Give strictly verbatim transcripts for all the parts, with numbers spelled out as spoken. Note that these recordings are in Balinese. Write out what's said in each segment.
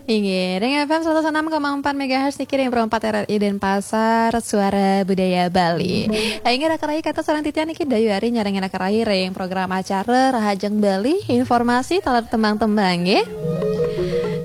Inggih, ring F M seratus enam koma empat megahertz niki ring Pro empat R R I Denpasar, Suara Budaya Bali. Inggih, raka rayi, kata sareng titiang niki Dayu Ari nyarengin raka rayi ring program acara Rahajeng Bali, informasi taler tembang-tembang, nggih.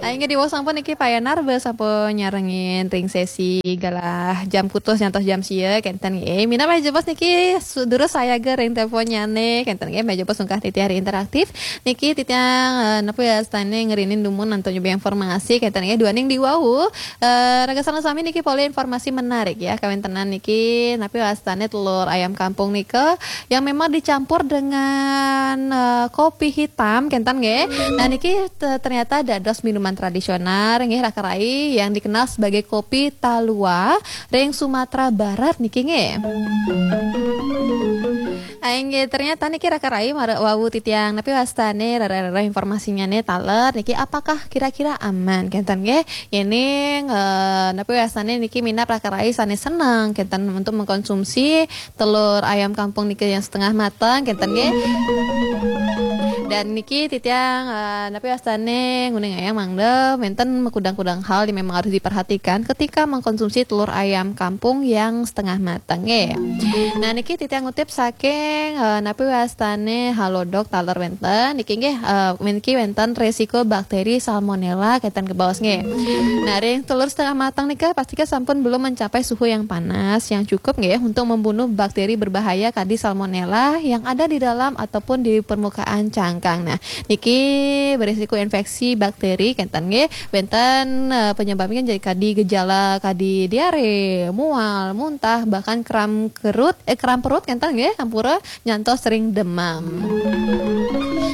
Inggih, diwau sampun niki Pak Yanar, be sampun nyarengin ring sesi galah jam kutus nyantos jam sia, kenten nggih. Minab meh jebos niki su-, durus sayaga ring teleponnyane, kenten nggih, meh jebos ungkah titiang ring interaktif. Niki titiang, eh, napi wastane ngerinin dumun antuk nyubi informasi, kenten nggih, duaning diwau, eh, raga sareng sami niki polih informasi menarik ya, kawentenan niki napi wastane telur ayam kampung nika yang memang dicampur dengan, eh, kopi hitam, kenten nggih. Nah, niki te-, ternyata dados minuman tradisional nggih, raka rayi, yang dikenal sebagai kopi talua ring Sumatera Barat niki nggih. Inggih, ternyata niki raka rayi mara-, wau titiang napi wastane rara-rara informasinyane taler niki, apakah kira-kira aman, kenten nggih? Yening, eh, napi wastane niki minab raka rayi sane seneng kenten untuk mengkonsumsi telur ayam kampung niki yang setengah mateng, kenten nggih. Dan niki titiang, eh, napi wastane nguningayang mangda wenten makudang-kudang hal yang memang harus diperhatikan ketika mengkonsumsi telur ayam kampung yang setengah mateng nggih. Nah, niki titiang ngutip saking, eh, napi wastane Halodoc taler wenten. Niki nggih, eh, niki wenten resiko bakteri salmonella kenten kebaos nggih. Nah, ring telur setengah mateng nika pastika sampun belum mencapai suhu yang panas yang cukup nggih untuk membunuh bakteri berbahaya kadi salmonella yang ada di dalam ataupun di permukaan cangkang. Nah, niki berisiko infeksi bakteri kenten nggih. Wenten, eh, penyebabnya jadi kadi gejala kadi diare, mual, muntah, bahkan kram kerut, eh, kram perut kenten nggih, ampura, nyantos sering demam.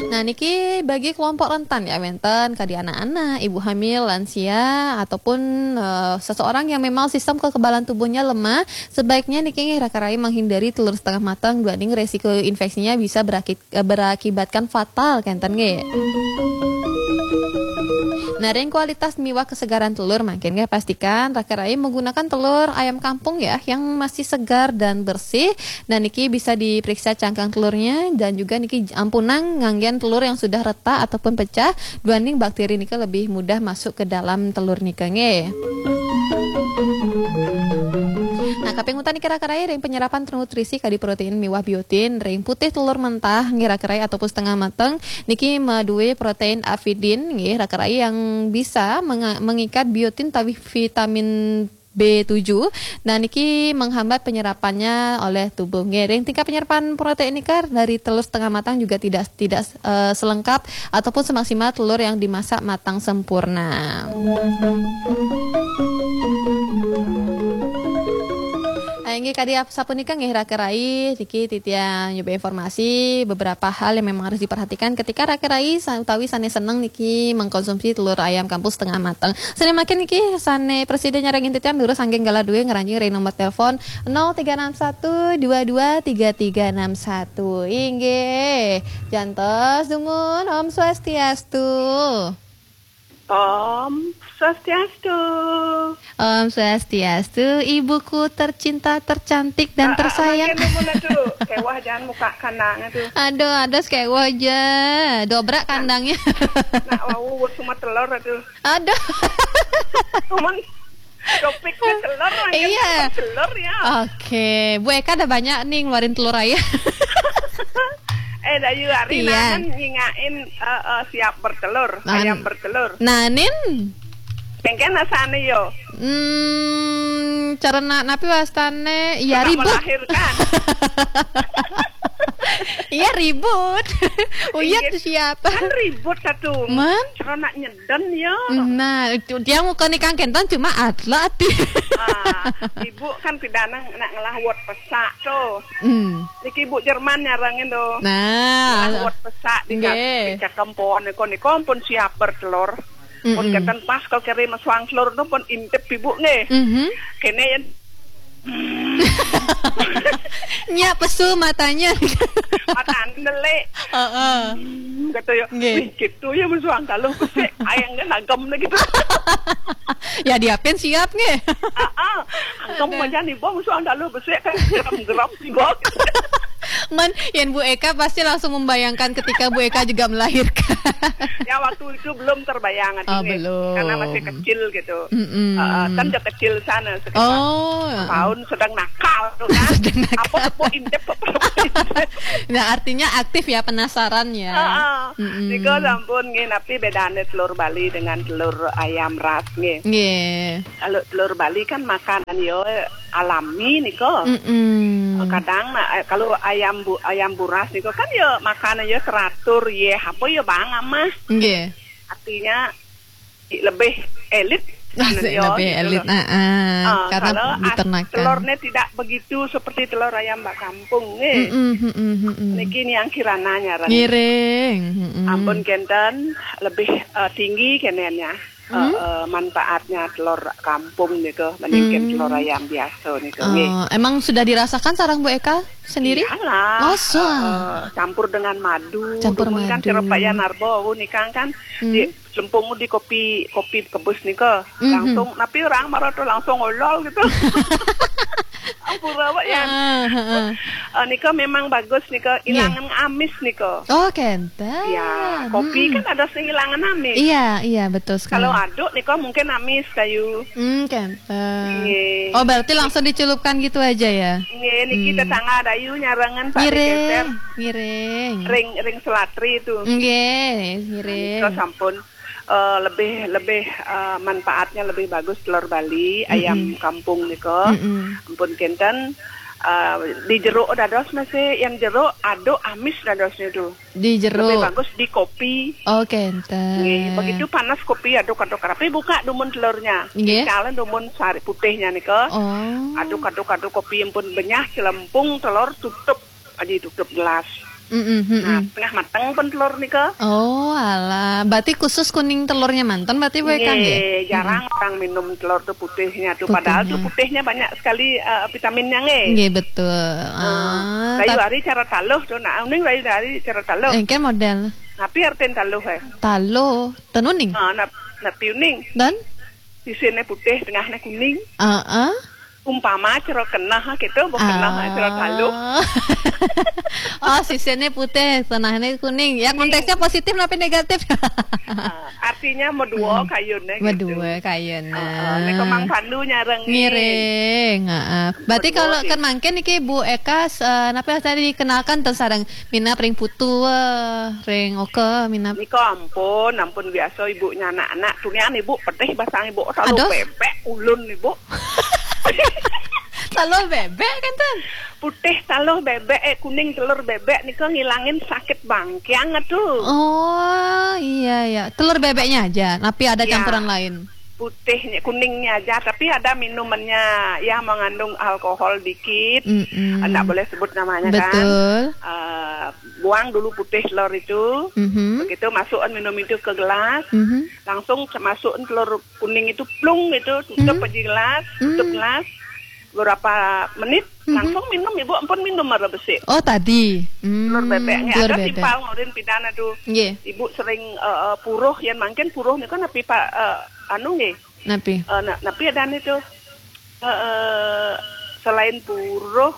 Nah, niki bagi kelompok rentan ya, wenten kadi anak-anak, ibu hamil, lansia, ataupun, eh, seseorang yang memang sistem kekebalan tubuhnya lemah, sebaiknya niki nggih raka rayi menghindari telur setengah matang duaning resiko infeksinya bisa beraki-, eh, berakibatkan fatal kenten nggih. Nah, ring kualitas miwah kesegaran telur mangkin nggih, pastikan raka rayi menggunakan telur ayam kampung ya, yang masih segar dan bersih. Dan niki bisa diperiksa cangkang telurnya dan juga niki ampunang nganggen telur yang sudah retak ataupun pecah, duaning bakteri nika lebih mudah masuk ke dalam telur nika nggih. Nah, kaping untat niki raka rayi ring penyerapan nutrisi kadi protein miwah biotin ring putih telur mentah nggih raka rayi ataupun setengah mateng niki madue protein avidin nggih raka rayi yang bisa menga-, mengikat biotin utawi vitamin B tujuh. Nah, niki menghambat penyerapannya oleh tubuh nggih. Ring tingkat penyerapan protein nika dari telur setengah matang juga tidak, tidak, eh, selengkap ataupun semaksimal telur yang dimasak matang sempurna. Ah, inggih kadi ap-, sapunika nggih raka rayi, niki titiang nyubi informasi beberapa hal yang memang harus diperhatikan ketika raka rayi sa-, utawi sane seneng niki mengkonsumsi telur ayam kampung setengah mateng. Sane mangkin niki sane prasida nyarengin titiang durus anggeng galah due ngranjing ring nomor telepon nol tiga enam satu dua dua tiga tiga enam satu. Inggih. Jantos dumun, Om Swastiastu. Om Swastiastu. Om Swastiastu, ibuku tercinta, tercantik, dan Ah, ah, tersayang. Mangkin dumun atuh. Kewah jangan muka kandang atuh. Aduh, aduh, kewah ja. Dobrak kandangnya. Nak wau wut semua telur atuh. Aduh. Cuman topik ke telur, mangkin iya. Telur ya. Oke, Bu Eka ada banyak nih ngeluarin telur ayam. Eh, Dayu Ari, iya. Nanan nyingakin, eh, eh, siap bertelur, nah, ayam bertelur. Nanin? Mangkin asane yo. Hmm, cara na-, napi wastane? Ya, ribut. Melahirkan. Iya, ribut. Uyat iya. Siapa? Kan ribut satu. Man? Cara nak nyeden ya. Nah, itu dia muka nih Kang Kenton cuma atlet. Ah, ibu kan tidak nak, nak ngelah wot pesak tuh. Hmm. Niki ibu Jerman nyarengin tuh. Nah. Ngelah wot pesak di nggih. Kak-, di cakempon niko, niko pun siap bertelur. Pun mm-mm. Kenten pas kalau kere mesuang telur tu pun intip ibu nggih. Mhm. Kene yen nya pesu matanya. Matane nelik. Heeh. Hmm, kata ya, nggih. Wih, gitu ya mesuang kaluh besik, ayang kan agem gitu. Ya diapin siap nggih. Heeh. Angkem aja nih, bong, mesuang kaluh besik kan geram-geram sih, bong. Men, yang Bu Eka pasti langsung membayangkan ketika Bu Eka juga melahirkan. Ya, waktu itu belum terbayang, Oh, Ding, belum. Karena masih kecil gitu. Mm-mm. Heeh, kan udah kecil sana sekitar Oh, tahun sedang nakal tuh kan. Sedang nakal. Apa tepuk intip, apa tepuk intip. Nah, artinya aktif ya, penasaran ya. Heeh. Mm-mm. Nika sampun nggih, napi bedane telur Bali dengan telur ayam ras nggih. Nggih. Kalau telur Bali kan makanan yo alami nika. Mm-mm. Kadang nah, eh, kalau ayam bu, ayam buras nika kan ya makanan ya teratur, ya apa ya bang amah. Nggih. Artinya lebih elit. Masih Yo, lebih gitu elit. loh. Ah, ah. Ah, Karena kalau as- diternakan. Telurnya tidak begitu seperti telur ayam bak kampung nggih. Mm-mm, mm-mm, mm-mm. Niki yang kirana nyaran. Ngiring. Mm-mm. Ampun kenten lebih eh, tinggi kenenya. Eh, eh, manfaatnya telur kampung niku mendingkan Hmm. telur ayam biasa niku nggih. Oh, emang sudah dirasakan sarang Bu Eka sendiri? Iyalah. Masa? Eh, campur dengan madu. Campur Dumun kan madu. Sirop Pak Yan Arbo niku kan Hmm. di lempung di kopi kopi kebus niku Mhm. langsung tapi orang marah tuh langsung olol gitu. Ampun apa ya? Ah, heeh. Eh, nika memang bagus nika ilangan amis nika. Oh, kenten. Ya, kopi kan ada sing ilangan amis. Iya, iya, betul sekali. Kalau aduk nika mungkin amis kayu. Hmm, kenten. Nggih. Oh, berarti langsung dicelupkan gitu aja ya? Nggih, niki Hmm. tetangga dayu nyarangan Pak Dikeser. Ngiring, ngiring. Ring ring selatri itu. Nggih, ngiring. Terus ampun eh, lebih lebih eh, manfaatnya lebih bagus telur Bali, ayam kampung nika. Mm-mm. Ampun kenten eh, di jeruk dados masih yang jeruk aduk amis dadosnya tuh. Di Lebih jeruk. Bagus di kopi. Oh, kenten. Nggih, begitu panas kopi aduk-aduk rapi buka dumun telurnya. Nggih. Kalian dumun sari putihnya nika. Oh. Aduk-aduk-aduk kopi ampun benyah celempung telur tutup aja tutup gelas. Mm-mm, mm-mm. Nah, tengah mateng pun telur nika. Oh, alah. Berarti khusus kuning telurnya manten berarti Bu Eka nggih? Nggih, jarang orang minum telur tuh putihnya tuh. Padahal tuh Putihnya. Putihnya banyak sekali eh, vitaminnya nggih. Nggih, betul. Eh, Ah, Rayu tap- hari cara taluh tuh, nah uning rayu hari cara taluh. Eh, kan model Tapi artin taluh eh. Taluh, tenuning. Ah, nap, napi uning. Dan? Sisine putih, tengahnya kuning. Heeh. Umpama cara kenah gitu, bukan kenah cara taluh. Oh, sisine putih, tengahnya kuning. Ya, konteksnya positif tapi negatif? Ah, artinya mau dua kayune gitu. Berdua kayaknya. Ah, nek Mang Pandu nyareng. Ngiring, heeh. Berarti Berdua kalau sih. Kan mangkin niki Bu Eka, eh, napa yang tadi dikenalkan ten sareng minap ring putu, eh, ring oke, minap. Nika ampun, ampun biasa ibu nya anak-anak. Tunian ibu pedih basang ibu taluh Aduh. Bebek ulun ibu. Taluh bebek kan ten? Putih taluh bebek eh kuning telur bebek nika ngilangin sakit bangkiang tuh. Oh, iya, iya. Telur bebeknya aja, tapi ada Ya. Campuran lain. Putihnya kuningnya aja tapi ada minumannya ya mengandung alkohol dikit. Mm-mm. Nggak boleh sebut namanya Betul. Kan. Eh, buang dulu putih telur itu. Mhm. Begitu masukkan minum itu ke gelas, Mhm. langsung masukkan telur kuning itu plung gitu, tutup Mhm. aja gelas, tutup Mhm. gelas. Berapa menit langsung minum ibu ampun minum marah besi. Oh, tadi. Hmm, Telur bebeknya telur ada bebek. Timpal ngorin pidana tuh. Nggih. Ibu sering eh, eh, puruh yang mangkin puruh nih kan napi pak eh, anu nggih. Napi? Eh, na- napi ada nih tuh. Eh, eh, selain puruh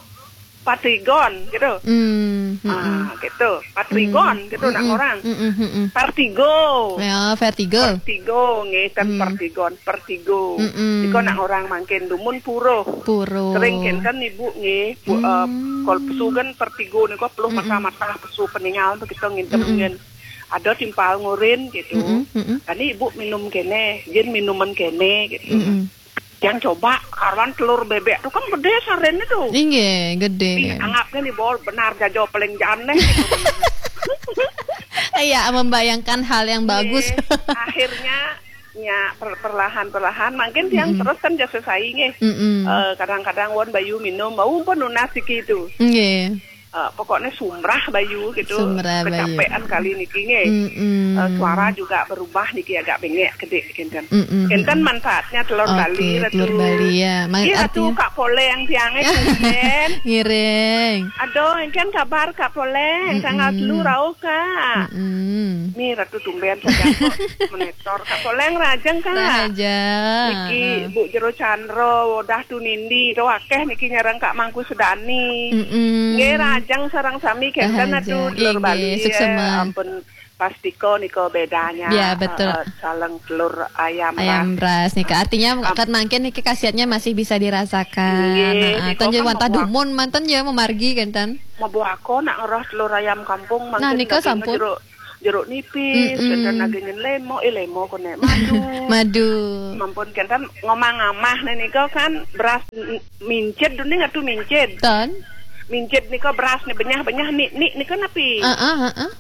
patrigon gitu. Hmm, mm-mm. Ah, gitu. Patrigon gitu nak Mm-mm, orang. Mm-mm, mm-mm. Partigo. Ya, vertigo. Partigo nggih kan Hmm. partigon, partigo. Mm-mm. Nika nak orang mangkin dumun puruh. Puro. Sering kenten ibu nggih, bu, eh, Hmm. kol pesugan partigo nika peluh mata-mata pesu peningal tuh kita ngintem Mm-mm. ngen. Ada timpal ngurin gitu. Mm-mm, mm-mm. Tadi ibu minum kene, jin minuman kene gitu. Mm-mm. Yang coba karuan telur bebek tuh kan gede sarene tuh. Inggih, gede. Ih, anggapnya nih bol benar jajo paling janeh. Iya, membayangkan hal yang bagus. Nggih. Akhirnya nya per- perlahan-perlahan mungkin yang terus kan jasa sainge. Mm-mm. Eh, kadang-kadang won bayu minum, mau pun nunas iki itu. Nggih. Eh, pokoknya sumrah bayu gitu. Sumrah bayu. Kecapean kali niki nggih. Mm-mm. Eh, suara juga berubah niki agak bengek gede kenten. Mm-mm. Enten manfaatnya telur Oke, Bali Ratu. Telur Bali ya. Ma- Iya Ratu artinya Kak Poleng tiangnya tumben. Ngiring. Aduh, engken kabar Kak Poleng, tanggal telu rauh Kak. Mm-mm. Nih Ratu tumben saja kok monitor Kak Poleng rajeng Kak. Raja. Niki Bu Jero Chandra, Wodah Tunindi, itu akeh niki nyarang Kak Mangku Sudani. Mm-mm. Nggih, Jang sareng sami kenten atuh, dulur Bali, suksma. Ampun, pastika nika bedanya. Ya, betul. Eh, eh, sareng telur ayam ras. Ayam ras nika. Artinya, kat mangkin niki khasiatnya masih bisa dirasakan. Nggih, nah, nika ten kan wantah dumun manten ya memargi kenten. Mabuaka nak ngerah telur ayam kampung mangkin. Nah, nika sampun. Jeruk, jeruk nipis, kenten lagi nyen lemo, eh, lemo kene madu. Madu. Mampun kenten ngomang amah nika kan beras m-, mincit duni ngatu mincit. Ten. Mincit nika beras ni benyah-benyah ni, ni nika napi? Heeh, heeh.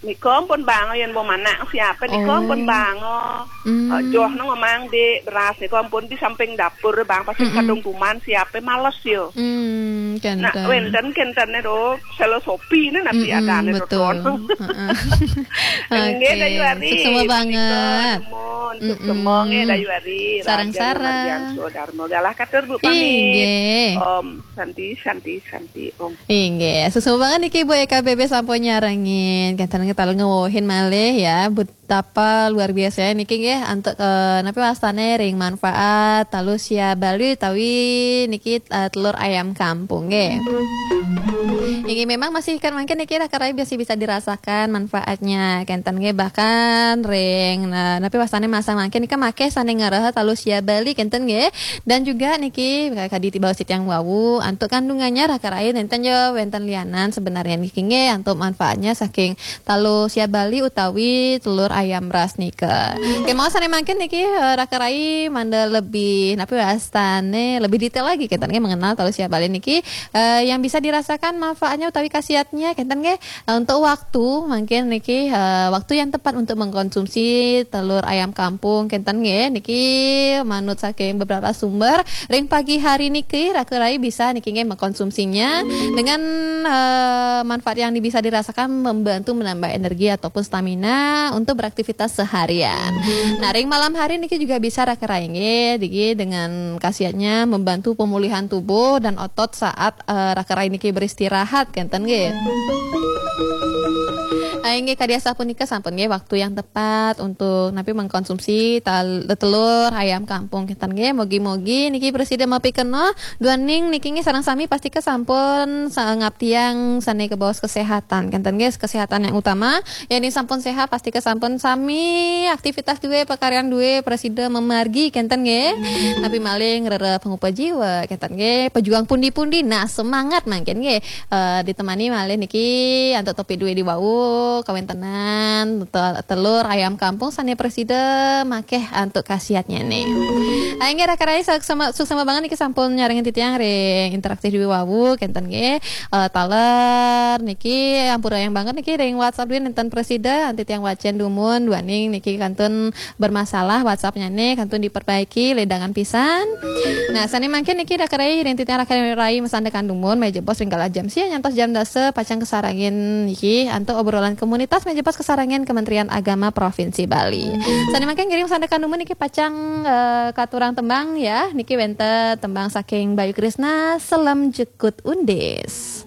Nika ampun banga yen wong manak siape nika ampun banga. Hmm. Eh, joh nang omang dik beras nika ampun di samping dapur bang pasti kadung kuman siape males yo. Hmm, kenten. Nah, wenten kentene do filosofi ne napi adane betul. Heeh. Nggih, Dayu Ari. Suksma banget. Suksma nggih, Dayu Ari. Sareng-sareng. Raja Mardianto Darmo. Galah katur Bu pamit. Inggih. Om Santi, Santi, Santi, Om. Inggih, suksma banget niki Bu E K B B sampun nyarengin. Kenten kita ngewohin malih ya, betapa luar biasa niki nggih antuk, eh, napi wastane ring manfaat talu sia Bali utawi niki, eh, telur ayam kampung nggih. Inggih memang masih kan mangkin niki raka rai masih bisa dirasakan manfaatnya. Kenten nggih bahkan ring, nah, napi wastane masa mangkin nika makeh sane ngarah talu sia Bali kenten nggih. Dan juga niki kadi tiba titiang wau antuk kandungannya raka rai nenten ya wenten lianan sebenarnya niki nggih antuk manfaatnya saking talu sia Bali utawi telur ayam ras nika. Kemawon sane mangkin niki, eh, raka rai mangda lebih napi wastane lebih detail lagi kenten nggih mengenal talu sia Bali niki, eh, yang bisa dirasakan manfaatnya utawi khasiatnya kenten nggih. Eh, untuk waktu mungkin niki, eh, waktu yang tepat untuk mengkonsumsi telur ayam kampung kenten nggih niki manut saking beberapa sumber ring pagi hari niki raka rai bisa niki nggih mengkonsumsinya dengan, eh, manfaat yang bisa dirasakan membantu menambah energi ataupun stamina untuk beraktivitas seharian. Nah, ring malam hari niki juga bisa raka rai nggih niki dengan khasiatnya membantu pemulihan tubuh dan otot saat, eh, raka rai niki beristirahat kenten nggih. Ah, inggih kadi asapunika sampun nggih waktu yang tepat untuk napi mengkonsumsi tal-, telur ayam kampung kenten nggih. Mogi-mogi niki prasida mapikenoh duaning niki nggih sareng sami pastika sampun sa-, ngabdiang sane kebaos kesehatan kenten nggih, kesehatan yang utama. Yen sampun sehat, pastika sampun sami aktivitas duwe, pakaryan duwe, prasida mamargi kenten nggih. Napi malih ngrereh pangupa jiwa kenten nggih. Pejuang pundi-pundi, nah semangat mangkin nggih. Eh, ditemani malih niki antuk topik duwe di wau, kawentenan te-, telur ayam kampung sane prasida makeh antuk khasiatnya nih. Ayo nggih raka rai suksma, suksma banget niki sampun nyarengin titiang ring interaktif duwe wau kenten nggih. Eh, taler niki ampura yang banget niki ring WhatsApp duwe nenten prasida antuk titiang wacen dumun duaning niki kantun bermasalah WhatsApp-nya nih kantun diperbaiki ledangan pisan. Nah, sane mangkin niki raka rai ring titiang raka rai masandekan dumun meja bos ring galah jam sia nyantos jam dasa pacang kasarengin niki antuk obrolan komunitas meja bos kasarengin Kementerian Agama Provinsi Bali. Sane mangkin ngiring masandekan dumun niki pacang, eh, katurang tembang ya. Niki wenten tembang saking Bayu Krisna, Selem Jukut Undis.